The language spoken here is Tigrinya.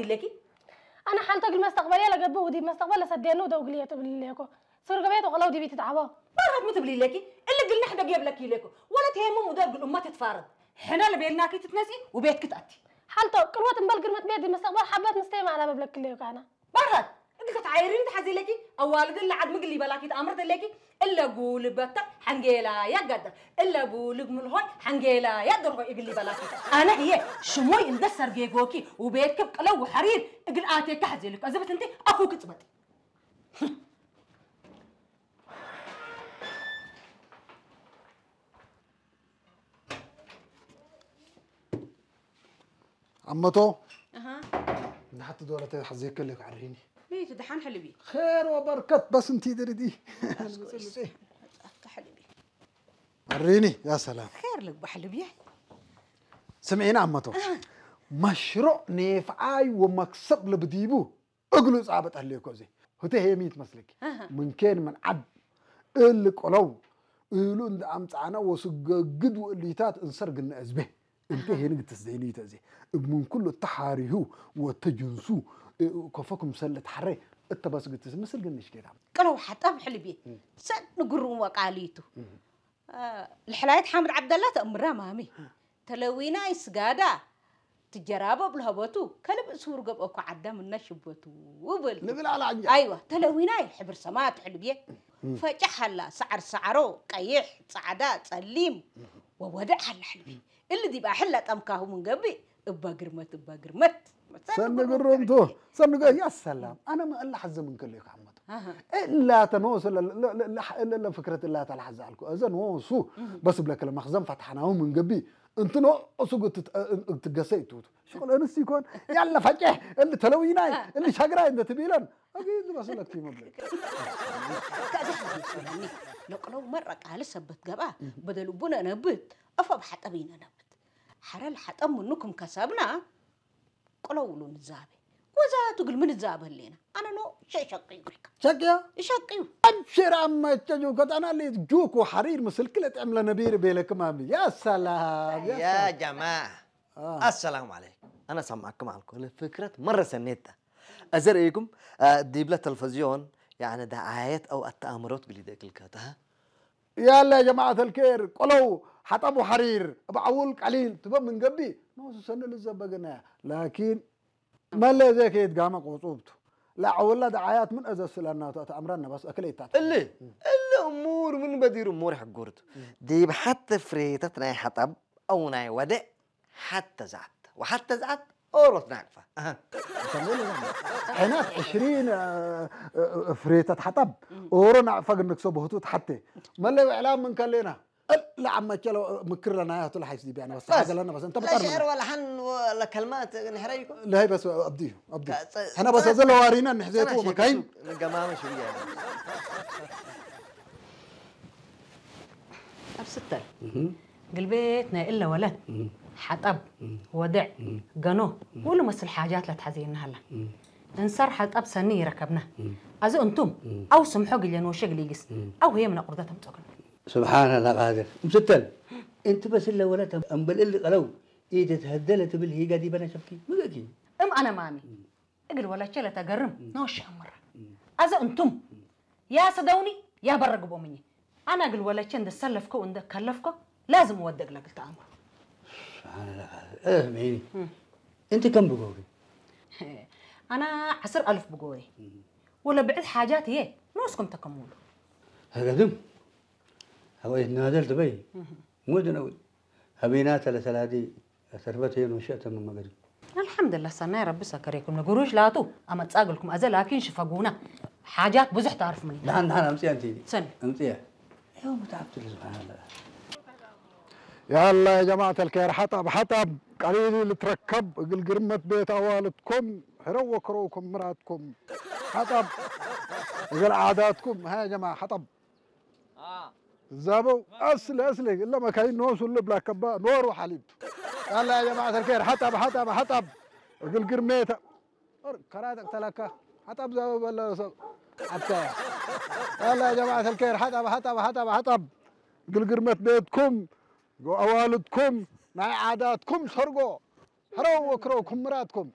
ዲለኪ أنا حالته قل مستقبل يلا قبو ودي مستقبل لسدينه ودو قليه تبلي ليكو سور قبيت وقلو دي بيت تعبو ባራት ምን ትብሊ ኢለኪ እሊ ግል ንሕደግ የብለኪ ኢለኩ ወለት ሄሙም ውደር ግል እማ ትትፋረድ ሕና ለቤልናኪ ትትነፂ ውቤትኪ ትኣቲ حالته قلوة مبل قرمت بيت دي مستقبل حبات مستيم على ببلك ليكو أنا ባራት እግልከ ተዓይሪኒ ትሓዚ ኢለኪ ኣዋልድ ለዓድ ምግል ይበላኪ ተኣምር ተለኪ እለ ጉልበታ ሓንጌላ ያጋዳ እለ ቡልግ ምልሆይ ሓንጌላ ያደርሆ እግል ይበላኪ ኣነ ህየ ሽሞይ እንደ ሰርጌጎኪ ውቤትኪ ቅለው ሓሪር እግል ኣቴካ ሓዚ ኢለኪ ኣዘበት እንተ ኣፉ ክፅበጥ ኣመቶ ንሓቲ ዶለተ ሓዘየከለ ክዓርሂኒ ቤት ደሓን ሕልቢ ኸር ወበርከት በስ እንት ድርዲ ኣካ ሕልቢ ዓርሂኒ ያ ሰላም ኸር ልግባ ሕልብየ ስምዒና ኣመቶ መሽሩዕ ኔፍዓይ ወመክሰብ ልብዲቡ እግሉ ጻበጥ ኣለኮ እዚ ህተ ሄሚት መስልክ ምንኬን ምን ዓድ እል ቆለው እሉ እንደ ኣምጻና ወስገግድ ወእሊታት እንሰር ግነ እዝቤ እንተ ሄን ግትስ ዘይንይተ እዚ ምን ኩሉ ተሓሪሁ ወተጅንሱ ከፈኩም ሰለ ተሓረ እተበስ ግትስ ምስል ግንሽ ጌታ ቅለው ሓጣብ ሕልቢ ሰድ ንግሩም ወቃሊቱ ልሕላየት ሓምድ ዓብደላ ተእምራ ማሚ ተለዊናይ ስጋዳ ትጀራበብ ለሀበቱ ከልብ እሱር ገብአኮ ዓዳ ምና ሽበቱ በል ንብል ኣላ ዕንጃ ኣይዋ ተለዊናይ ሕብር ሰማት ሕልብየ ፈጫሕ ኣላ ሰዓር ሰዓሮ ቀይሕ ጻዕዳ ጸሊም ወወድዕ ኣላ ሕልቢ እሊ ዲባ ሕላ ጠምካሁ ምንገብእ እባ ግርመት እባ ግርመት ሰኒ ግሩምቱ ሰኒ ገ ያ ሰላም ኣነ መእላ ሓዘ ምን ከለዩ ካመቱ እላ ተኖስ ለፍክረት እላ ተላሓዘ ኣልኩ እዘ ኖሱ በስ ብለከለ መኽዘን ፈትሓናሁ ምን ገቢ እንት ኖሱ ትገሰ ይትውቱ ሽቁል እንስ ይኮን ያለ ፈጨሕ እሊ ተለዊናይ እሊ ሻግራይ እንደ ትቢለን ኣጊ ዝበስለክ ይመብለክ ከእዚ ሕዚ ይጽለኒ ለቅለው መረቃ ልሰበት ገብኣ በደል ቡነ ነብት እፈ ብሓጠብ ይነነብት ሓረል ሓጠብ ምኑኩም ከሰብና ቅለውሉ ንዛበ ወዛቱ ግል ምን ዛበ ሌና ኣነ ኖ ሸሸቂ ይብልካ ሸቅያ ይሸቅዩ أبشر عم تجو كتانا اللي جوكو حرير مسلك لتعمل نبير بيلك مامي يا سلام يا جماعة السلام عليكم أنا سامعكم على الكل فكرة مرة سنيتة أزريكم ديبلا تلفزيون يعني دعايات أو التآمرات قليدة كل كاتها يلا يا جماعة الكير قلو حطبوا حرير بعول قليل تبا من قبي نوصو سنة للزبقنا لكن ما اللي زي كيد قام قوصوبته لا عولا دعايات من أزا سلانا تأمرنا بس أكل إيتات اللي اللي أمور من بدير أمور حقورته ديب حتى فريتة ناي حطب أو ناي ودع حتى زعت وحتى زعت أوروت ناقفة أها حينات عشرين فريتة حطب أورو ناقفة قلنك صبهتو تحتي ما اللي إعلام من كلنا لا عم تشلو مكر لنا يا طول حيس دي بيانا بس حاجه لنا بس انت لا بتعرف شعر ولا حن ولا كلمات نحريكو لا هي بس ابدي ابدي احنا بس هذا لو ارينا نحزيتو مكاين قمامه شويه ኣብ ስተል ግልቤት ናይ እለ ወለት ሓጠብ ወድዕ ገኖ ኩሉ መስል ሓጃት ለትሓዘየና ሃላ እንሰር ሓጠብ ሰኒ ይረከብና ኣዚ እንቱም ኣው ስምሖ ግሌን ወሸ ግሊግስ ኣው ህየ ምነ ቁርደት ኣምፀግን سبحان الله قادر مستل انت بس الا ولا امبل ال قلو ايد تهدل تبل هي قادي بنا شفكي مقاكي እም ኣነ ማሚ እግል ወለቼ ለተገርም ነወሽ ኣምራ ኣዘ እንቱም ያሰደውኒ ያበረግቦምኝ ኣነ እግል ወለቼ እንደሰለፍከው እንደከለፍከው ላዝም ወደግ ለግል ተኣምሮ እህ መይኒ እንቲ ከም ብጎሪ ኣና ዓስር ኣልፍ ብጎሪ ወለ ብዕድ ሓጃት እየ ንስኩም ተከምሉ هقدم هو يتنازل تبي مو دنوي هبينات لثلاثي ሰርበት የን ወሸእተ መመገዲ ኣልሓምዱላ ሰናይ ረቢ ሰከረኩም ንግሩሽ ላቱ ኣመጻግልኩም ኣዘ ላኪን ሽፈጉና ሓጃት ብዙሕ ታርፍ ምኒ ደሓን ደሓን ኣምፅያ እንት ሰን ኣምፅያ ይኸው ምትዓብትሉ ስብሓንላ يلا يا جماعة الخير حطب حطب قليل اللي تركب قل قرمة بيت أوالدكم حرو وكروكم مراتكم حطب قل عاداتكم ها يا جماعة حطب زابو أصل أصل إلا ما كاين نوس ولا بلا كبا نور وحليب يلا يا جماعة الخير حطب حطب حطب قل قرميت كراتك تلكا حطب زابو ولا سو حتى يلا يا جماعة الخير حطب حطب حطب حطب قل قرمت بيتكم جو أوالدكم ناي عاداتكم سرقو حرو وكرو كمراتكم